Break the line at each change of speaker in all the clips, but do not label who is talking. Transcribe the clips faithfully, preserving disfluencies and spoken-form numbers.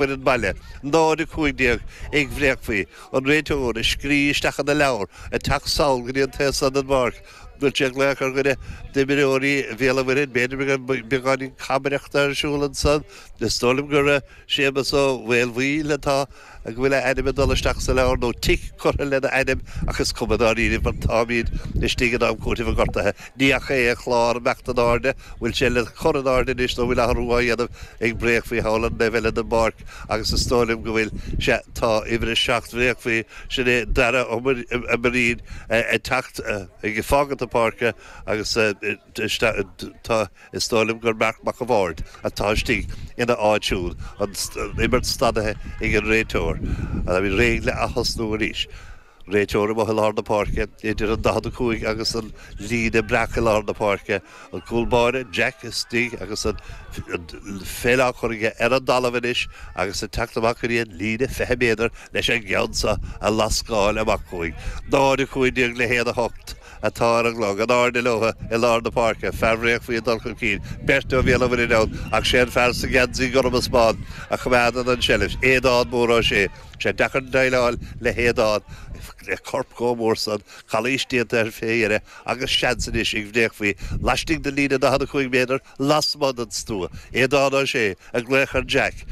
Bhfoireann baile, náid a cúig déag ag Bhréachmhaí, an réiteoir ag scríobh isteach ina leabhar, ag teacht sall go dtí an taobh san den bpáirc. Bhfuil sé ag glaoch ar dhuine d'imreoirí Bhéal an Mhuirthead, b'fhéidir go mbeidh beagáinín cabaireachta ar siúl ansan. Is dóigh liom gur Séamus Ó Maolmhaoil atá, go bhfuil a ainm ag dul isteach sa leabhar, nó tic curtha lena ainm, ach is cuma dáiríre mar táimid istigh in am cúitimh an ghortaithe. Ní fhaca é an clár imeacht in airde, bhfuil sé le cur in airde anois nó bhfuil athrú á dhéanamh ag Bréachmhaí thall an taobh eile den bpáirc agus is dóigh liom go bhfuil, sea, tá uimhir a seacht Bhréachmhaí, sin é Dara Ó Muirín ag teacht, ag fágaint na páirce agus tá, is dóigh liom gur Marc Mac a' Bhaird atá istigh ina áit siúd, an imirt stadaithe ag an réiteoir. Táimid réidh le ath-thosnú arís. Réiteoir amuigh i lár na páirce, idir an daichead a cúig agus an líne breac i lár na páirce, an cúl báire, Jack, istigh agus an pheil á cur aige ar an dtalamh anois agus ag teacht amach go dtí an líne fiche méadar leis an gceann seo a lascáil amach chugainn. Náid a cúig déag le haon a hocht. atá ar an gclog, in airde leo i lár na páirce, fear Bhréachmhaí ag dul chun cinn, beirt ó Bhéal an Mhuirthead ann ach sé an fear sa gheansaí gorm is bán a choimeádann an tseilbh, Aodán Mór Ó Sé. Sé deacair déileáil le hAodán, le corp chomh mór san, calaois déanta air fé dheireadh agus seans anois ag Bhréachmhaí laistigh den líne daichead a cúig méadar lasmuigh den stua. Aodán Ó Sé ag glaoch ar Jack.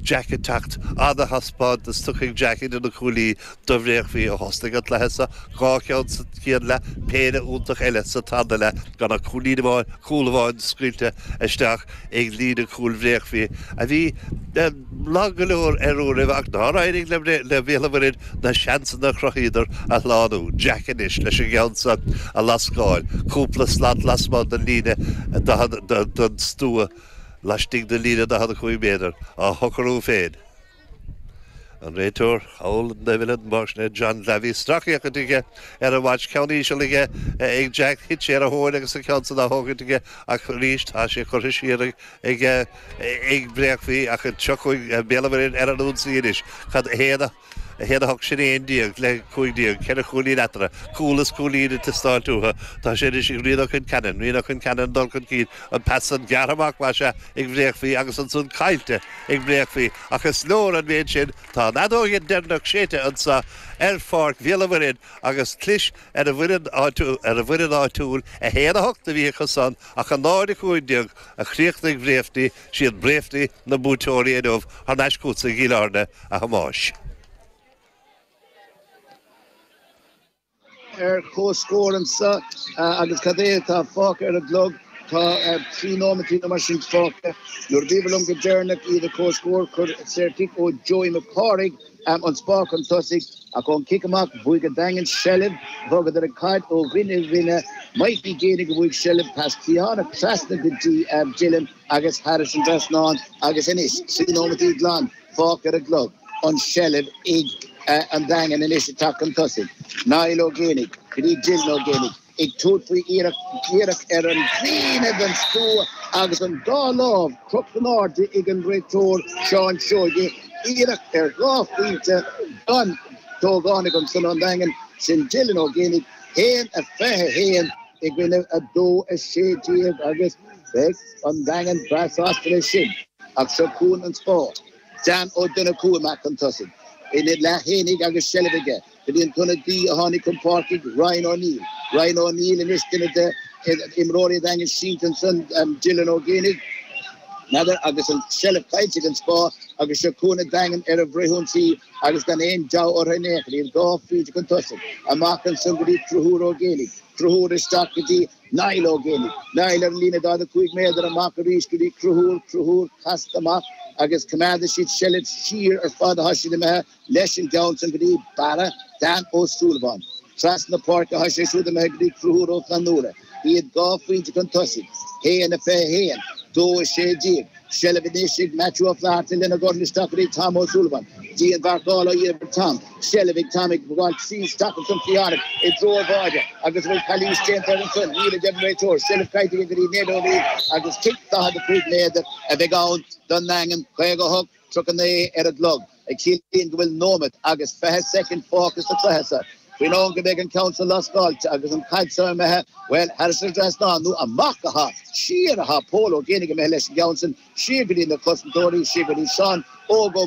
Jack ag teacht, ana-thaispeántas tugtha ag Jack idir na cuaillí do Bhréachmhaí ó thosnaigh an cluiche seo, dhá cheann sa chéad leath, péire iontach eile sa tarna leath, gan ach cúilín amháin, cúl amháin scaoilte isteach ag líne cúil Bhréachmhaí, a bhí lag go leor ar uairibh ach nár éirigh le Béal an Mhuirthead na seansanna a chruthaíodar a shlánú. Jack anois leis an gceann seo a lascáil, cúpla slat lasmuigh den líne den stua. laistigh de líne daichead a cúig méadar, á shocrú féin. An réiteoir thall an taobh eile den bpáirc sin é John Lavey. Sracfhéachaint aige ar an watch, ceann íseal aige ag Jack, thit sé ar a thóin agus an ceann san á thógaint aige ach arís tá sé curtha siar ag ag Bréachmhaí ach seo chugainn Béal an Mhuirthead ar an ionsaí anois. Cad a haon a a haon a hocht sin aon déag le cúig déag, ceithre chúilín eatarthu. Cúl is cúilín ag teastáilt uathu. Tá sé anois ag Rian Ó Concheanainn, Rian Ó Concheanainn ag dul chun cinn, an pas san gearrtha amach, más ea, ag Bhréachmhaí agus ansan caillte ag Bréachmhaí. Ach is leor an méid sin, tá an fheadóg deireanach séidte anso ar pháirc Bhéal an Mhuirthead agus clis ar an bhfoireann áitiúil, ar an bhfoireann áitiúil, a haon a hocht a bhí acu san ach a náid a cúig déag a chríochnaigh Bréifní, siad Bréifní na buaiteoirí inniu thar n-ais chugatsa i gCill Airne, a Thomáis.
Ar comhscór anseo agus cad é atá fágtha ar an gclog? Tá trí nóimeataí nó mar sin fágtha. Nuair a bhíobhair liom go deireanach iad ar comhscór, chuir saorchic ó Joey Mac Cárthaigh an Spá chun tosaigh ach ón chic amach bhuaigh an Daingean seilbh. Bhogadar an chaid ó dhuine go duine. Mikey Geaney a bhuaigh seilbh, pas cliathánach trasna go dtí Dylan agus thairis an dtrasnán agus anois trí nóimeataí glan fágtha ar an gclog. An tseilbh ag an Daingean anois ag teacht chun tosaigh. Niall Ó Géibheannaigh go dtí Dylan Ó Géibheannaigh ag tabhairt faoi iarracht iarracht ar an líne den stua agus an dá lámh crochta in airde ag an réiteoir Seán Seoige. Iarracht ar dhá phointe don t-ógánach ansan ón Daingean, sin Dylan Ó Géibheannaigh, haon a fiche a haon i gcoinne a dó a sé déag agus beidh an Daingean breá sásta leis sin. Ach seo chugainn an Spá. Dan Ó Donnchú amach chun tosaigh ina leath fhéinig agus seilbh aige go dtí an t-ionadaí a tháinig chun páirce, Ryan O'Neill. Ryan O'Neill anois duine de imreoirí an Daingin sínte ansan, Dylan Ó Géibheannaigh, n'fheadar, agus an tseilbh caillte ag an Spá agus seo chugainn an Daingean ar an bhfrithionsaí agus gan aon deabhadh orthu in aon chor, iad dhá phointe chun tosaigh. Amach ansan go dtí Conchúr Ó Géibheannaigh. Conchúr isteach go dtí Niall Ó Géibheannaigh. Niall ar an líne daichead a cúig méadar amach arís go dtí Conchúr, Conchúr casta amach agus coimeádfaidh siad seilbh siar ar fad atá siad imithe leis an gceann san go dtí Barra Dan Ó Súilleabháin. Trasna na páirce atá sé siúd imithe go dtí Conchúr Ó Flannúra. Iad dhá phointe chun tosaigh, haon a fiche a haon, dó a sé déag. Seilbh anois ag Matthew Ó Flatharta lena dhorn isteach go dtí Tom Ó Súilleabháin. Dianmharcáil á dhéanamh ar Tom. Seilbh ag Tom ag gabháil trí isteach ansan cliathánach i dtreo an bháide agus an bhfuil calaois déanta air ansan? Níl, a deir an réiteoir. Seilbh caillte aige go dtí Ned Ó Neill agus cic daichead a cúig méadar a bheidh ann don nDaingean, caoga a hocht, tríocha a naoi ar an gclog, a chiallaíonn go bhfuil nóimeat agus fiche soicind fágtha sa chluiche seo. Faoin am go mbeidh an ceann seo lascáilte agus an chaid seo imithe, well, thar an trasnán nó amach atá, siar atá Pól Ó Géibheannaigh imithe leis an gceann sin, siar go dtí na cosantóirí, siar go dtí Seán Óg Ó